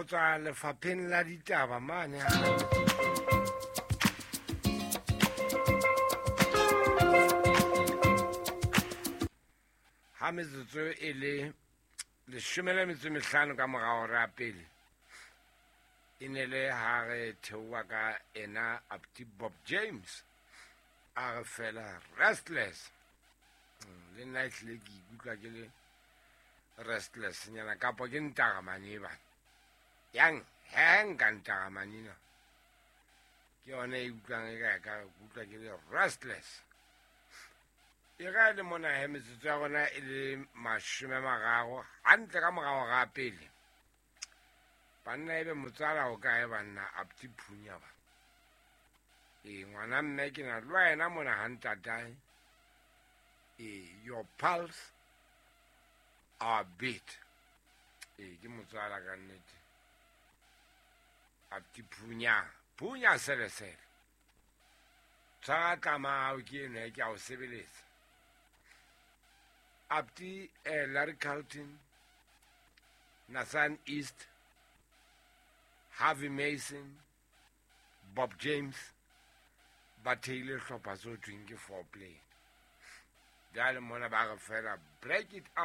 Go tswa lefapheng la ditaba mane. Ha metsotso e le 15 ka morao ra pele e ne le ha re theoha ka ena Apti Bob James a re fela restless. Le nna ehlile ke ikutlwa ke le restless nyana kapo ke ntaramane e bana yang he nka ntaramane na ke yona e utlwang e ka ka utlwa ke le restless. E ga le mona he metsotso ya rona e le 30 hantle ka morao ga pele. Banna ebe motswala o kae banna Apti Phunya ba. E ngwana mme ke na le wena mona ha ntatae. E your pulse our beat. E ke motswala ka nnete. Apti Phunya, Phunya sele sele. Tshwara tlama hao ke eno ke a o sebeletsa. Apti Larry Carlton, Nathan East, Harvey Mason, Bob James ba theile hlopha se ho thweng ke Four Play. Jwale mona ba re fela break it up.